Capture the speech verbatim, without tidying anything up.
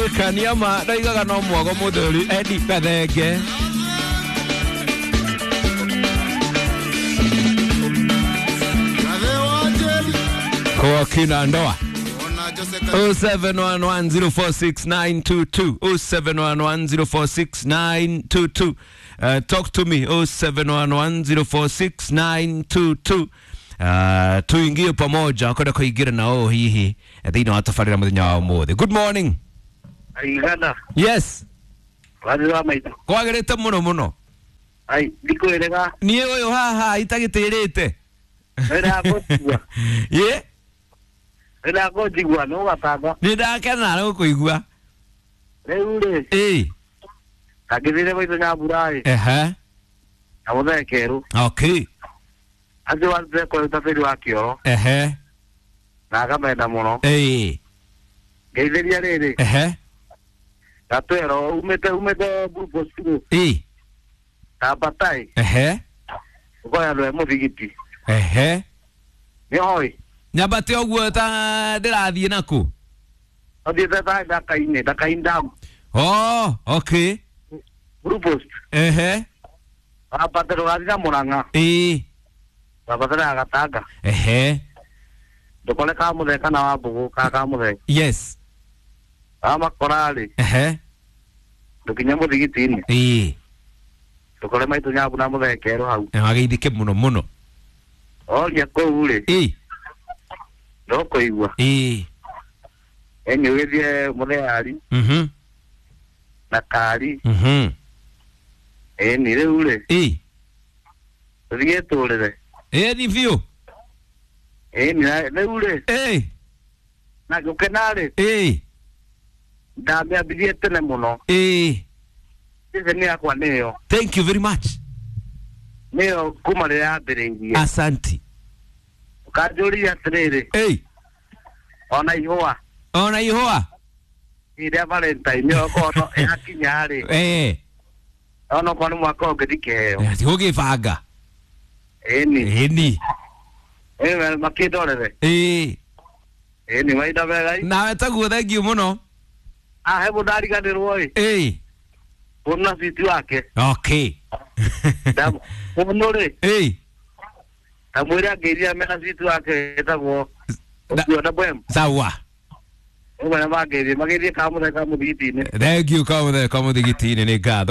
Ndirikania ma ndaigaga no mwago muthuri Eddie Kathenge. Kwa kina ndoa oh seven one one zero four six nine two two oh seven one one zero four six nine two two. Uh, talk to me oh seven one one zero four six nine two two. Uh, tuingie pamoja kwenda kuingira na o hihi thĩinĩ wa tabarĩra mũthenya wa ũmũthĩ. Good morning. Aigana. Yes. Wazira maitũ. Kwagĩrĩte mũno mũno. Ai, ndikwĩrĩga. Niĩ ũyũ haha itagĩtĩrĩte. Nĩndakũnjigua. Ye? Nĩndakũnjigua nĩ ũgatanga. Nĩndakena nĩ gũkũigua. Rĩu rĩ. Ĩĩ. Kangĩthire maitũ Nyambura ĩ. Ehe. Na mũthee Kerũ. Okay. Acio warutire kwa ũtabĩri wa kĩoro. Ehe. Na akamenda mũno. Ĩĩ. Ngeithĩria rĩrĩ. Ehe. Gatwero umĩte umĩte Blue Post rĩ. Ĩĩ. Kambatai. Ehe. Ũkoya andũ e mũthigiti. Ehe. Nĩ hoi. Nyambate ũguo ta ndĩrathiĩ nakũ? Ũthiĩte ta Ndaka-inĩ, Ndaka-inĩ down. Oh, okay. Blue Post. Ehe. Wambate ndũgathiĩ na Mũrang'a. Ĩĩ. Wambate na Gatanga. Ehe. Ndũkore Kamũthee kana Wambũgũ ka Kamũthee. Yes. Wamakora rĩ. Ehe. Ndũkinye mũthigiti-inĩ. Ĩĩ. Ndũkore maitũ Nyambu na mũthee Kerũ hau. Na wageithĩke mũno mũno. Oria kũu rĩ. Ĩĩ. Ndũkũigua. Ĩĩ. Ĩni ũgĩthiĩ mũthee Ari. Mhm. Na Kari. Mhm. Ĩni rĩu rĩ. Ĩĩ. Tũthiĩ tũrĩre. Ĩĩ ni biũ. Ĩni rĩu rĩ. Ĩĩ. Na gũkena rĩ. Ĩĩ. Ndamĩambirie tene mũno. Ĩĩ. Ceceni yakwa nĩyo. Thank you very much. Nĩyo kuma rĩrĩa yambĩrĩirie. Asanti. Ũkanjũria atĩrĩrĩ. Ĩĩ. Ona ihũa. Ona ihũa. Rĩa Valentine okorwo yakinya rĩ. Ĩĩ. Ona okorwo nĩ mwaka ũngĩ ndikĩheo. Ti gũgĩbanga. Ĩni. Ĩni. Ĩĩ makĩndorere. Ĩĩ. Ĩni mahinda mega. Nawe taguo thank you mũno. Ah, he mũndũ ariganĩrwo ĩ. Ĩĩ. Mũndũ na citi wake. Okay. Mũndũ rĩ. Ĩĩ. Ndamwĩre angĩiria mena citi wake ĩtagwo ũcio na bwem. Sawa. Ũguo nĩ mangĩthiĩ magĩthiĩ Kamũthee Kamũthigiti-inĩ. Thank you Kamũthee Kamũthigiti-inĩ nĩ ngatho.